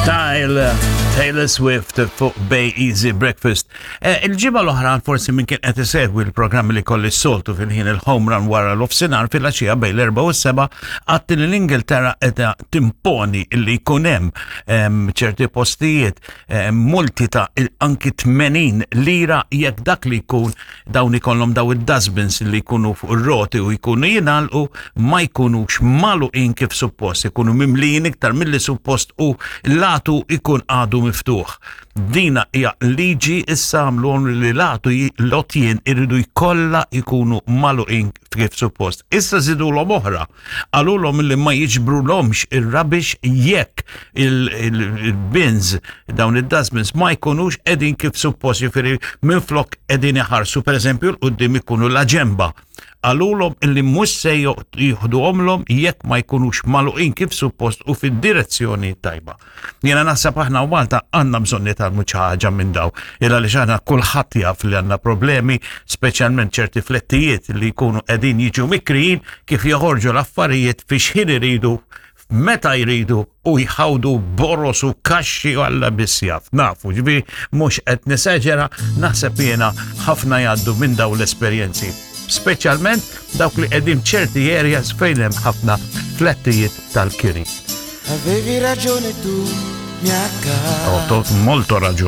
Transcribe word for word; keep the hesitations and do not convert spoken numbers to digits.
Style, Taylor Swift fuq Bay Easy Breakfast. Eh, Il-ġimgħa l-oħra, forsi min kien qed isegwi l-programmi li kolli s-soltu fil-ħin il-home run wara l-offsinar fil-għaxija bejn l-erbgħa u s-sebgħa, għedt li l-Ingilterra qed timponi li jkun hemm em, ċerti postijiet em, multi ta' il- anki tmenin lira jekk dak li jkun dawn ikollhom daw id-dustbins li jkunu fuq ir-roti u jkunu jingħalqu, ma jkunux magħluqin kif suppost, ikunu mimlijin iktar milli suppost u l-għatu ikun għadu miftuħ. Dina hija liġi issa, għamluhom li l-għatu l-għotjien irridu jkollha jkunu magħluqin kif suppost. Issa żidulhom oħra. Qalulhom li ma jiġbrulhomx ir-rubbish jekk il-bins, dawn id-dustbins, ma jkunux qegħdin kif suppost, jiġifieri minflok qegħdin iħarsu pereżempju 'l quddiem, ikunu la ġemba. Qalulhom illi mhux se jieħduhomlhom jekk ma jkunux magħluqin kif suppost u fid-direzzjoni tajba. Jiena naħseb aħna u Malta għandna bżonn nitgħallmu xi ħaġa minn daw. Illa li aħna kulħadd jaf li għandna problemi, speċjalment ċerti flettijiet li jkunu qegħdin jiġu mikrijin, kif joħorġu l-affarijiet fi xħin iridu, meta jridu, u jħawdu boros u kaxxi u Alla biss jaf. Nafu, ġifieri mhux qed nesaġera, naħseb jiena ħafna jgħaddu minn daw l-esperjenzi. Speċjalment dawk li qegħdin ċerti areas fejn hemm ħafna flettijiet tal-kiri. Avevi ragione tu, mia cara. Ho molto ragione.